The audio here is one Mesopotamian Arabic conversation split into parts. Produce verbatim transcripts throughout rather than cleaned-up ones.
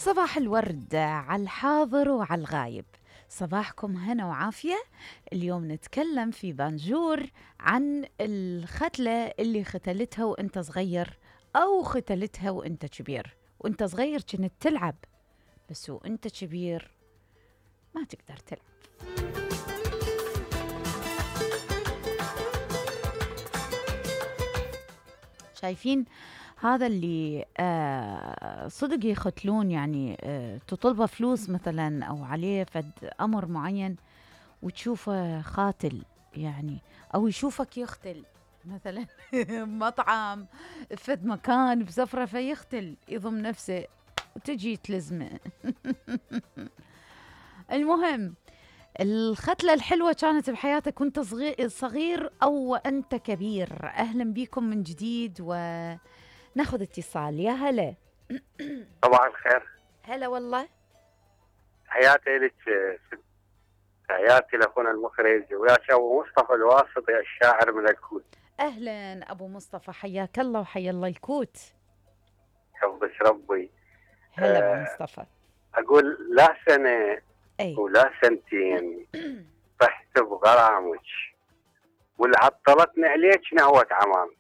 صباح الورد على الحاضر وعلى الغايب، صباحكم هنا وعافية. اليوم نتكلم في بانجور عن الختلة اللي ختلتها وانت صغير أو ختلتها وانت كبير. وانت صغير كنت تلعب، بس وانت كبير ما تقدر تلعب. شايفين هذا اللي آه صدق يختلون، يعني آه تطلبه فلوس مثلا أو عليه فد أمر معين وتشوفه خاتل، يعني أو يشوفك يختل مثلا مطعم فد مكان بسفرة فيختل يضم نفسه وتجي تلزمه. المهم الختلة الحلوة كانت بحياتك وانت صغير أو أنت كبير. أهلا بكم من جديد وناخذ اتصال. يا هلا. صباح الخير. هلا والله. حياتي لك، حياتي لأخونا المخرج ويا أبو مصطفى الواسطي الشاعر من الكوت. أهلا أبو مصطفى، حياك الله وحيا الله الكوت. حفظك ربي. هلا أبو مصطفى. أقول لا سنة أي. ولا سنتين طحت بغرامك واللي عطلتني عليك نهوة عمامك.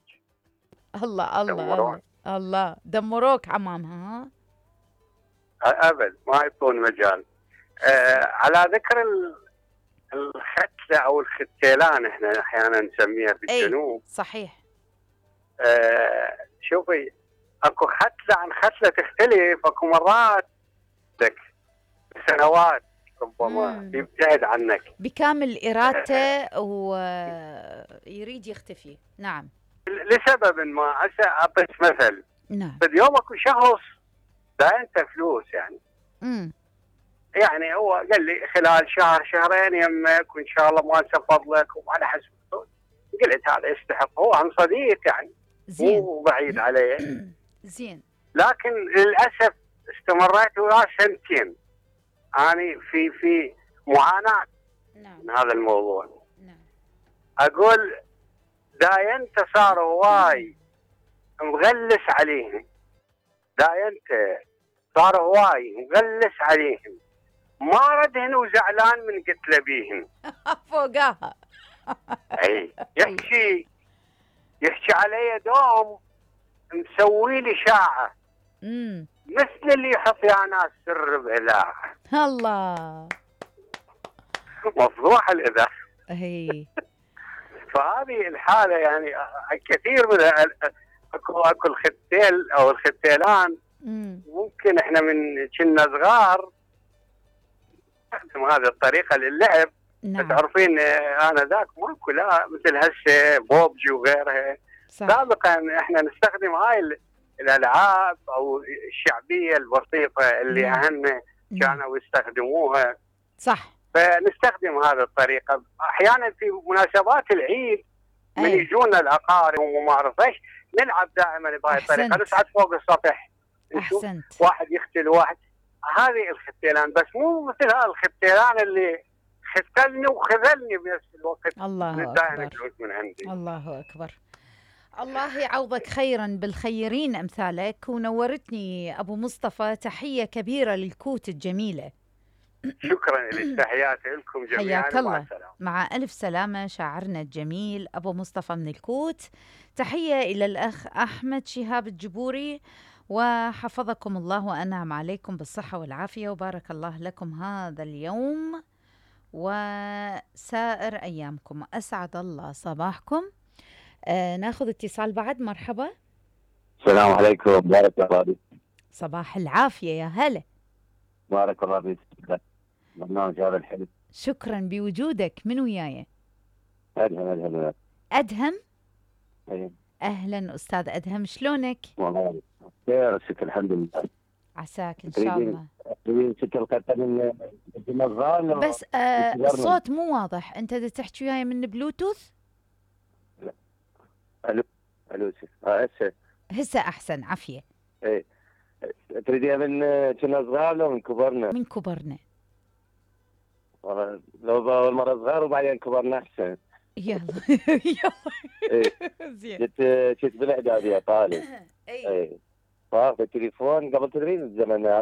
الله الله الله الله، دمروك عمامها. ها أبد ما يعطون مجال. آه على ذكر الختلة أو الختيلان احنا أحيانا نسميها في الجنوب. صحيح. آه شوفي، اكو ختلة عن ختلة تختلف. اكو مرات لك سنوات ربما يبتعد عنك بكامل إرادته ويريد يختفي. نعم، لسبب ما. هسه أعطيك مثل. نعم. في اليوم اكو شخص دا انت فلوس يعني امم يعني هو قال لي خلال شهر شهرين يمك وان شاء الله ما انسفض لك وعلى حسب. قلت هذا يستحق، هو عن صديق يعني زين، مو بعيد عليه. زين. لكن للاسف استمريت وياه سنتين اني في في معاناه. نعم. من هذا الموضوع. نعم. اقول داينت صار هواي مغلس عليهم، داينت صار هواي مغلس عليهم، ما ردهن وزعلان من قتله بيهن. فوقاها. اي يحكي يحكي علي دوم مسوي لي شاعه امم مثل اللي يحط يا ناس سر بإله. الله، مفضوح الإذاعة. هي فهذه الحالة يعني كثير من اكو اكو الختيل او الختيلان. مم. ممكن احنا من كنا صغار نستخدم هذه الطريقة للعب. نعم. تعرفين انا ذاك ماكو لا مثل هسه بوبجي وغيرها. سابقا احنا نستخدم هاي الالعاب او الشعبية البسيطة اللي نعم. اهلنا كانوا يستخدموها. صح. فنستخدم هذه الطريقة أحيانا في مناسبات العيد من يجونا الأقارب وما أعرف إيش نلعب دائما بهذه الطريقة، نصعد فوق السطح نشوف أحسنت. واحد يختل واحد. هذه الختيلان، بس مو مثل هذا الختيلان اللي ختلني وخذلني بنفس الوقت. الله أكبر. من عندي. الله أكبر. الله يعوضك خيرا بالخيرين أمثالك، ونورتني أبو مصطفى. تحية كبيرة للكوت الجميلة. شكرا لك، تحياتي لكم جميعا. حياك الله. مع ألف سلامة شاعرنا الجميل أبو مصطفى من الكوت. تحية إلى الأخ أحمد شهاب الجبوري، وحفظكم الله وأنعم عليكم بالصحة والعافية وبارك الله لكم هذا اليوم وسائر أيامكم. أسعد الله صباحكم. آه ناخذ اتصال بعد. مرحبا. السلام عليكم. بارك الله فيك. صباح العافية. يا هلا. بارك الله فيك. برنامج هذا الحلو. شكرا بوجودك. من وياي؟ أدهم. أدهم. أدهم. أيه. أهلا أستاذ أدهم، شلونك؟ والله خير الشكر الحمد لله. عساك إن شاء الله. تريدين ست القطة من الغال بس آه الصوت مو واضح. أنت دا تحكي وياي من بلوتوث؟ لا. ألو ألو اه هسه هسه أحسن. عافية. إيه. تريدين من كنا صغار لو من كبرنا؟ من كبرنا. والله لو أول مرة صغار وبعدين كبرنا أحسن. يلا يلا. إيه. زين. جت جت بالإعدادية طالب. إيه. إيه. فاخذ التليفون قبل تدرين الزمن